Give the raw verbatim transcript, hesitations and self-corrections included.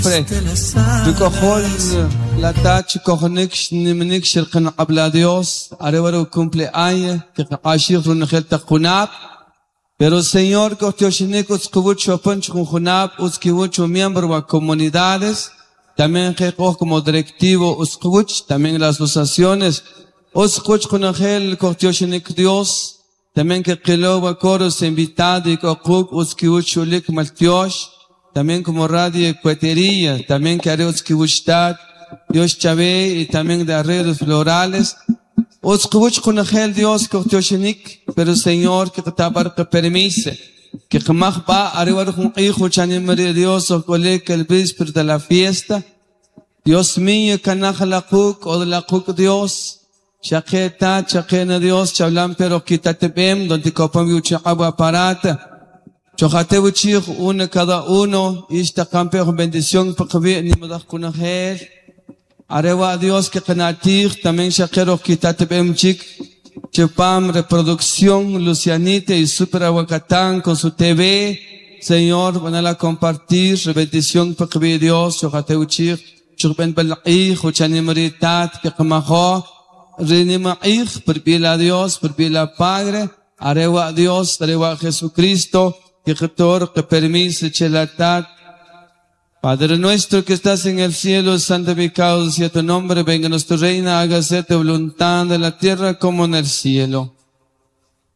Siempre Rukojol la tach kojonik nimnik shirqan qabla Dios arewaru cumpleaños que qashir runjel taqunab pero Señor kotoshinik utskubuch opunch junab utskibuch miembro wa comunidades también que como directivo utskubuch también las asociaciones utskuch kunangel kotoshinik Dios también que qilo wa coros invitado y kokuk utskibuch ulik maltiosh también como radio Cuetería, también que haré Utzkibuchtat, Dios Chavé y también de arreglos florales. Utzkibuch kunajel Dios kohtoshinik, pero Señor que tabar que permise, que jamás va arriba un hijo chanimari Dios o colega el víspera de la fiesta. Dios mío, canaja la kuk o de la kuk Dios. Shaketa, chakena Dios, chablan pero quítate bem, donde copam yucha agua parata. Chojateuchij uno cada uno, ista campeón bendición paqvi ni madaj kunajel. Arewa Dios que kanatij, también shakero quitate bem chik. Chepam reproducción Lucianita y Super Aguacatán con su T V. Señor, van a compartir bendición paqvi Dios, chojateuchij, chukben balqij, uchanimritat, que kamajo, rinimaqij, perbila Dios, perbila Padre, arewa Dios, arewa Jesucristo. Que que permise chelatat. Padre nuestro que estás en el cielo, santificado sea tu nombre, venga nuestro reino, hágase tu voluntad en la tierra como en el cielo.